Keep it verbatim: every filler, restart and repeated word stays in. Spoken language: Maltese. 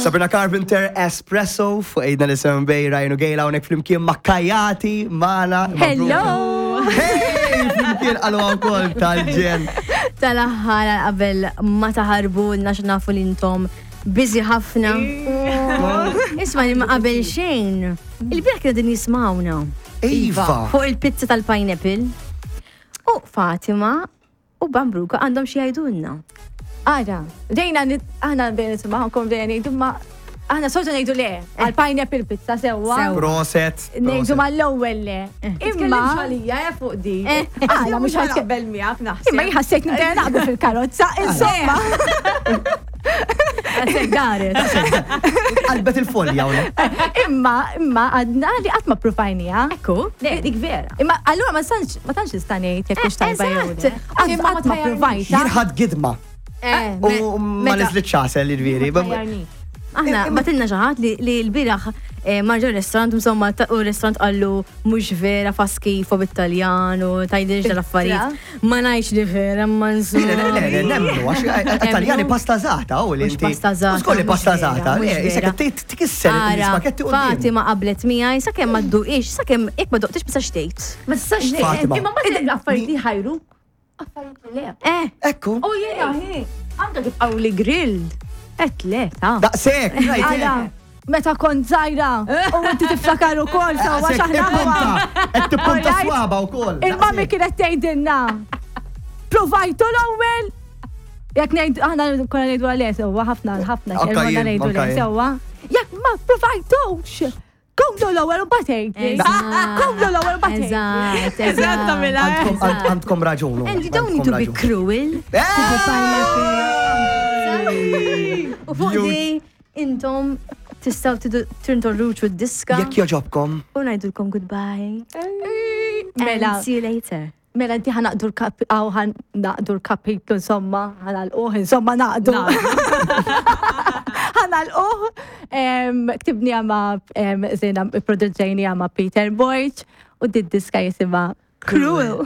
Sabrina Carpenter, Espresso, fuq Għidna li Seven Bay, Ryan u Gail hawnhekk flimkien ma' Kajati, Mana. Hello! Hey! Flimkien għalu wkoll tal-ġenn. Tal-aħħar qabel ma taħarbu nax nafu li intom busy ħafna. Isma' li ma qabel xejn. Il-bieraħ kienu din jismawna. Iva. Fuq il-pizza tal-pineapple. U Fatima u Bambruka għandhom xi jgħidulna. Ara, dejna nit- aħna bdejna nisimgħukom, bdejna ngħidu, ma aħna soltu ngħidu le għal pineapple pizza, sewwa. Sewwa. Proset. Ngħidu mal-ewwel le. Imma għalija eh, fuq di. Għala, mhux ħadd ħaqbel miegħek naħseb. Imma jħassejt nibda naqbel fil-karozza, insomma. Għasek daret. Qalbet il-folja hawnhekk. Imma imma għadna li qatt ma provajnija. Ekku. Le, dik vera. Imma allura ma tantx ma tantx nista' ngħid jekk hux tajba jew le. Eżatt. Qatt Imma ma qatt ma tajjarnix. provajta. Jien ħadd gidma. Eh, U ma meta- niżlitx għasel, jiġifieri. Aħna batilna xi ħadd li li l-bieraħ eh, marġa restaurant, insomma, ta- u restaurant qallu mhux vera, fa skifo bit-Taljan u tajdilx dal-affarijiet. Ma ngħidx li vera, ma Le, le, le, le, insomma. nemmnu, għax Taljani pasta zata, u li Mhux inti. pasta zata, Skolli mhux pasta vera, zata, mhux le, jisek vera. tikisser Ara, l-spagetti u Fatima qablet miegħi sakemm ma dduqix, sakemm jekk ma duqtix ma tistax tgħid. Ma tistax Fatima. Imma ma tgħid affarijiet li ħajru. Affarijiet li le. Eh, Ekku. U jiena hi. Anke kif qaw li grilled. Et le, ta' Daqsek, Għala, meta kont żgħira u inti tiftakar ukoll sewwa x'aħna Tippunta, qed tippunta Alright. swaba wkoll. Il-mami kienet tgħidilna. Provajtu l-ewwel. Jekk ngħid aħna konna ngħidu għalih sewwa ħafna ħafna Anka konna jien, ngħidu anka le jien. sewwa. Jekk ma provajtux. Kumlu l-ewwel u batejtli. Kumlu l-ewwel u batejtli. Eżatt, eżatt. Għandkom- għand- Għandkom raġun. And you don't need to be cruel. U fuq di intom tistgħu tidu tintorruċu d-diska Jekk joġobkom. u ngħidulkom goodbye. Mela. And see you later. Mela inti ħanaqdu l-kap, għaw ħanaqdu l-kapitlu, insomma, ħanalquh, insomma, naqdu. Ħanalquh. Em, Ktibni ma' zena, produġġejni ma' Peter Borg u di diska jisimha Cruel.